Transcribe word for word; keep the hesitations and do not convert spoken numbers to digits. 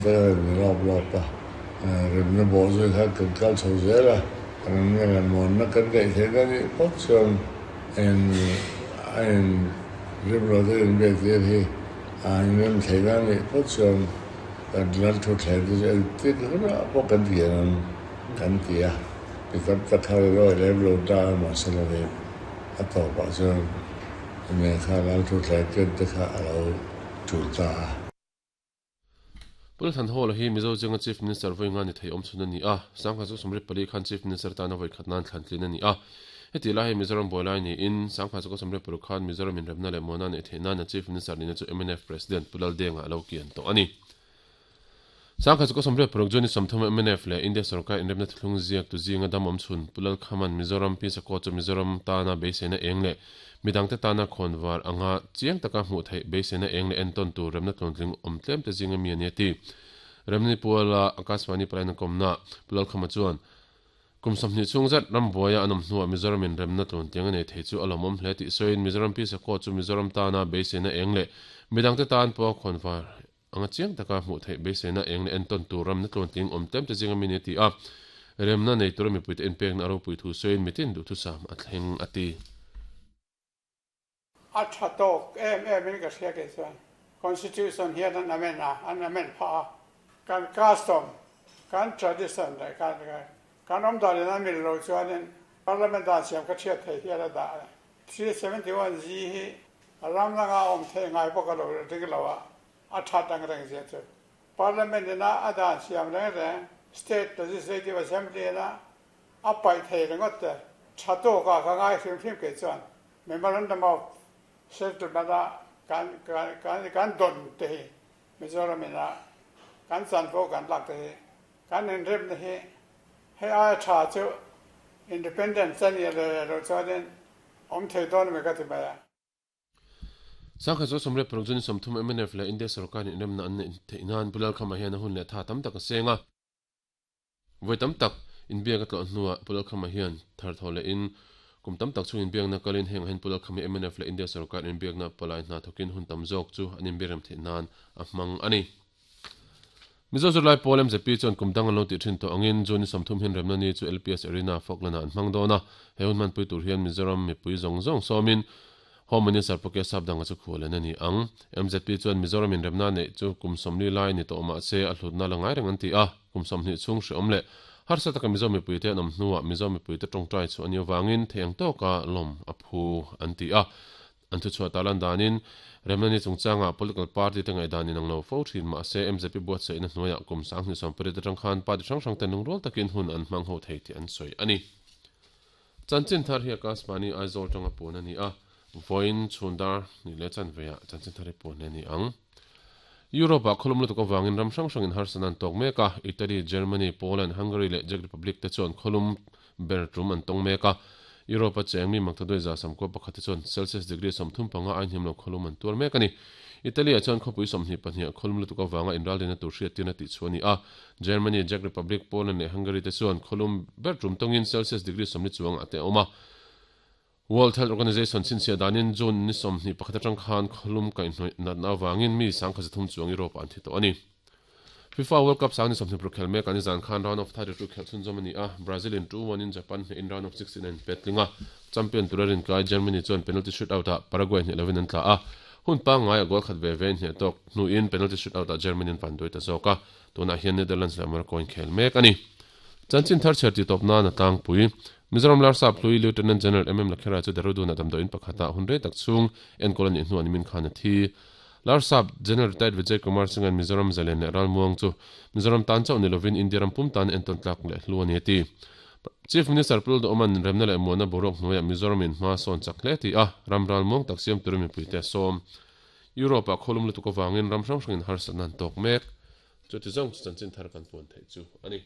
Lawp lawp a, remna bawh zui kha kan kal chho zel a, remna leh muanna kan ngaih theihna nih phawt chuan in a in rem lo te inbiak tir hi a inrem theihna nih phawt chuan kan lal thutthleng te chu engtin hunah pawh kan kian ang kan ti a, mi tam tak kha rawi lem lo ta a mahse lovin a tawpah chuan enge kha lal thutthleng ken te kha a lo tul ta a. Pu Thanhawla hi Mizo zinga Chief Minister vawi nga ni thei awm chhun a ni a, Sangha chu sawmriat pali khan Chief Minister tana vawi khat nan thlan tlin a ni a. Heti lai hi Mizoram buai lai niin Sangha chu sawmriat paruk khan Mizoram inremna leh muana neih theih nana Chief Minister nihna chu M N F President Pu Laldenga a lo kian tawh a ni. Sangha chu sawmriat paruk June sawmthum M N F leh India sarkar inremna thuthlung ziak tu zinga dam awm chhun Pu Lalkhaman Mizoram Peace Accord chu Mizoram tana beiseina eng leh midangte tana khawnvar anga chiang taka hmuh theih beiseina eng leh entawn tur remna tluantling awm tlem te zinga mi ani a ti. Remni puala Akashvani palaina kawmna Pu Lalkhama chuan kum sawmhnih chhung zet ram buaia an awm hnuah Mizoram in remna tluantling a nei thei chu a lawmawm hle tih sawiin Mizoram Peace Accord chu Mizoram tana beiseina eng leh midangte tan pawh khawnvar anga chiang taka hmuh theih beiseina eng leh entawn tur ramna tluantling awm tlem te zinga mi ni a ti a. Remna nei tura mipuite inpekna a ropui thu sawiin mitin duh thusam a thleng a ti. A tha tawk em em in ka hria ke chuan constitution hian an amend a, an amend pha a, kan custom, kan tradition leh kan kan awm dan in a mil lo chuanin parliament dan siam ka thiat thei hian a dah three seventy one G hi ram langa awm thei ngai bawk a lo ring lo a. A that ang reng zia chu parliament ina a dan siam reng reng state legislative assembly na a pai thei ringawt te tha tawk a ka ngai hrim hrim ke chuan memorandum of settlement a kan kan kan kan don te hi Mizoram ina kan chanvo kan lak te hi kan inrem na hi hei ai tha chu independent chani le lo chuanin awm thei dawn mi ka ti mai a. Sangha chu sawmriat paruk June sawmthum M N F leh India sarkar inremna an neih theih nan Pu Lalkhama hian a hun leh tha tam tak a seng a. Vawi tam tak inbiak a tlawh hnuah Pu Lalkhama hian thar thaw leh in kum tam tak chung inbiakna kalin heng hen Pu Lalkhama M N F leh India sarkar inbiakna palai hna thokin hun tam zawk chu an inbiarem theih nan a hmang a ni. Mizo Zirlai Pawl M Z P chuan kum dang an lo tih thin tawh angin June sawmthum hian remna ni chu L P S Arena Falkland ah an hmang dawn a. He hun hmanpui tur hian Mizoram mipui zawng zawng sawmin Home Minister Pu K Sapdanga chu khualen a ni ang. M Z P chuan Mizoram in remna nei chu kum sawmli lai ni tawh mah se a hlutna la ngai reng an ti a. Kum sawmhnih chhung hre awm leh harsa taka Mizo mipui te an awm hnuah Mizo mipui te tawngtai chu ani awangin theiang tawka lawm a phu an ti a. An thu chhuah talan danin remna ni chungchanga political party te ngaih danin ang lo fo thin mah se M Z P buatsaihna hnuaiah kum sanghnih sawmpariat atang khan party hrang hrang te lungrual takin hun an hmang ho thei tih an sawi ani. Chanchin thar hi Akashvani Aizawl tanga puan ani a. Voin chhundar ni le chan veya chanchin thar hi puan ani ang. Europe a kholum lutuk awangin ram hrang hrangin harsanan tawk mek a. Italy, Germany, Poland, Hungary leh Czech Republic te chuan kholum ber tum an tawng mek a. Europe a cheng mi makta doi za samkua pakhat te chuan Celsius degree sawmthum panga ain him lo kholum an tuar mek ani. Italy a chuan khawpui sawmhnih pahnih kholum lutuk awanga inralina tur hriattirna tih chu ani a. Germany, Czech Republic, Poland leh Hungary te chuan kholum ber tum tawngin Celsius degree sawmli chuang ate awm a. World Health Organization chinchhiah danin June ni sawmhnih pakhat atang khan kholum kaihhnawih natna awangin mi sangkhat zathum chuang Europe an thi tawh ani. FIFA World Cup sang ni sawmhnih paruk khel mek ani zan khan round of thirty-two khel chhunzawm ani a. Brazil in two one in Japan hne in round of sixteen an petlinga. Champion turarin kai Germany chuan penalty shootout ah Paraguay hne lovin an tla a. Hun pa ngai a goal khat ve ve hne tok hnu in penalty shootout ah Germany an van doi ta zawk a. Tunah hian Netherlands leh Morocco in khel mek ani. Chanchin thar chher ti tawp na na tlang pui Mizoram Larsap hlui Lieutenant General M M Lakhera chu Dehradun a damdawiin pakhata hun rei tak chhung enkawl ani hnu ani min khan a thi. Larsap General Retired Vijay Kumar Singh an Mizoram zalen leh ralmuang chu Mizoram tan chauh ni lovin India ram pum tan entawn tlak leh hlu ani a ti. Chief Minister Pu Lalduhoma'n remna leh muana boruak hnuaiah Mizoram in hma sawn chak hle ti a, ram ralmuang tak siam turin mipui te a sawm. Europe ah kholum lutuk awangin ram hrang hrangin harsatna an tawk mek. Chu ti zawng chu chanchin thar kan puan theih chu ani.